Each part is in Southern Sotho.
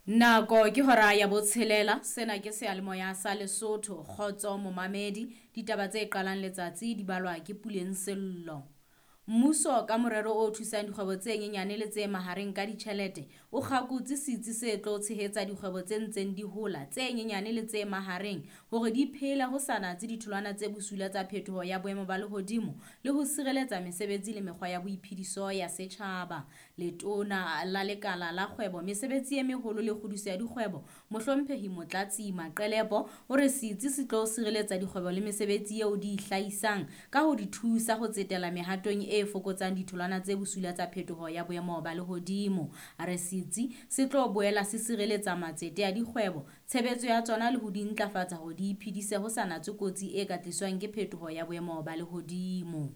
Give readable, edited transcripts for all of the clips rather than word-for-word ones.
Nako ke hora ya botshelela, sena ke seyalemoya sa Lesotho, Kgotso Momamedi. Ditaba tse qalang letsatsi di balwa ke Puleng Sello. Mmuso ka morero o thusang dikgwebo tse nyenyane le tse mahareng ka ditjhelete o kgakotse setsi se tlo tshehetsa dikgwebo tse ntseng di hola tse nyenyane le tse mahareng hore di phele ho sa natse ditholwana tse bosula tsa phetoho ya boemo ba lehodimo le ho sireletsa mesebetsi le mekgwa ya boiphediso ya setjhaba. Letona la Lekala la Kgwebo, Mesebetsi e Meholo le Kgodiso ya Dikgwebo, Mohlomphehi Motlatsi Maqelepo o re setsi se tlo sireletsa dikgwebo le mesebetsi eo di e hlahisang ka ho di thusa ho tsetela mehatong e fokotsang ditholwana tse bosula tsa phetoho ya boemo ba lehodimo. A re setsi se tlo boela se sireletsa matsete a dikgwebo, tshebetso ya tsona le ho di ntlafatsa hore di iphedise ho sa natswe kotsi e ka tliswang ke phetoho ya boemo ba lehodimo.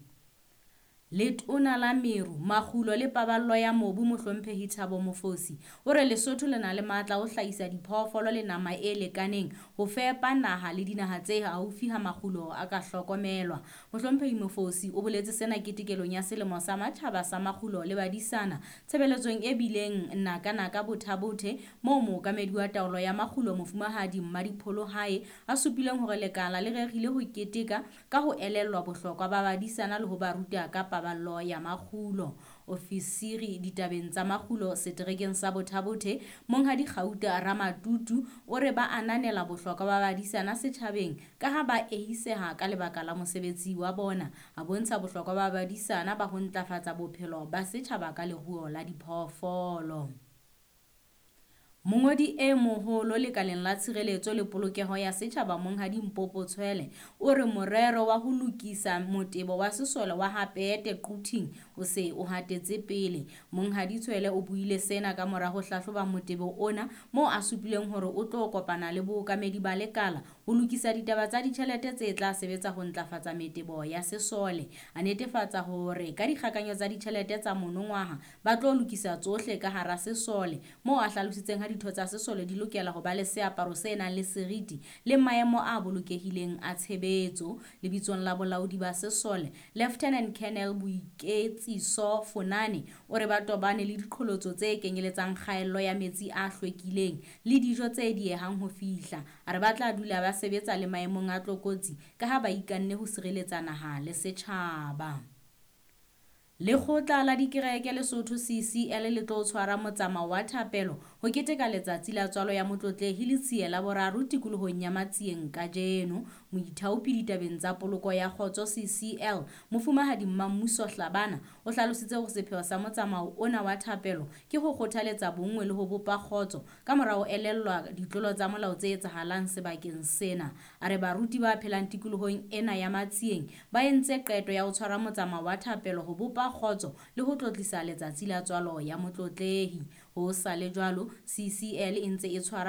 Letona la Meru, Makgulo le Paballo ya Mobu Mohlomphehi Thabo Mofosi o re Lesotho le na le matla a ho hlahisa diphoofolo le nama e lekaneng ho fepa naha le dinaha tse haufi ha makgulo a ka hlokomelwa. Mohlomphehi Mofosi o boletse sena ketekelong ya selemo sa matjhaba sa makgulo le badisana tshebeletsong e bileng naka-naka Botha-Bothe moo mookamedi wa taolo ya makgulo Mofumahadi Mmadipholo Hae a supileng hore lekala le rerile ho keteka ka ho elellwa bohlokwa ba badisana le ho ba ruta ka paballo ya makgulo. Ofisiri ditabeng tsa makgulo seterekeng sa Botha-Bothe, Monghadi Kgauta Ramatutu o re ba ananela bohlokwa ba badisana setjhabeng ka ha ba eiseha ka lebaka la mosebetsi wa bona. A bontsha bohlokwa ba badisana ba ho ntlafatsa bophelo ba setjhaba ka leruo la diphoofolo. Mongodi e moholo lekaleng la tshireletso le polokeho ya setjhaba Monghadi Mpopo Tshwele o re morero wa ho lokisa motebo wa sesole wa Ha Peete Quthing o se o hatetse pele. Monghadi Tshwele o buile sena ka mora ho hlahloba motebo ona moo a supileng hore o tlo kopana le bookamedi ba lekala ho lokisa ditaba tsa ditjhelete tse tla sebetsa ho ntlafatsa metebo ya sesole. A netefatsa hore ka dikgakanyo tsa ditjhelete tsa monongwaha ba tlo lokisa tsohle ka hara sesole moo a hlalositseng ha ditho tsa sesole di lokela ho ba le seaparo se nang le seriti le maemo a bolokehileng a tshebetso. Lebitsong la bolaodi ba sesole, Lieutenant Colonel Boiketsiso Fonane o re ba tobane le diqholotso tse kenyeletsang kgaello ya metsi a hlwekileng le dijo tse diehang ho fihla. A re ba tla dula ba sebetsa le maemong a tlokotsi ka ha ba ikanne ho sireletsa naha le setjhaba. Lekgotla la Dikereke Lesotho CCL le tlo tshwara motsamao wa thapelo ho keteka letsatsi la tswalo ya Motlotlehi Letsie la boraro tikolohong ya Matsieng kajeno. Moithaopi ditabeng tsa poloko ya kgotso CCL, Mofumahadi Mmammuso Hlabana o hlalositse hore sepheo sa motsamao ona wa thapelo ke ho kgothaletsa bonngwe le ho bopa kgotso ka mora ho elellwa ditlolo tsa molao tse etsahalang sebakeng sena. A re baruti ba phelang tikolohong ena ya Matsieng ba entse qeto ya ho tshwara motsamao wa thapelo ho bopa kgotso le ho tlotlisa letsatsi la tswalo ya Motlotlehi. Ho sa le jwalo, CCL e ntse e tshwara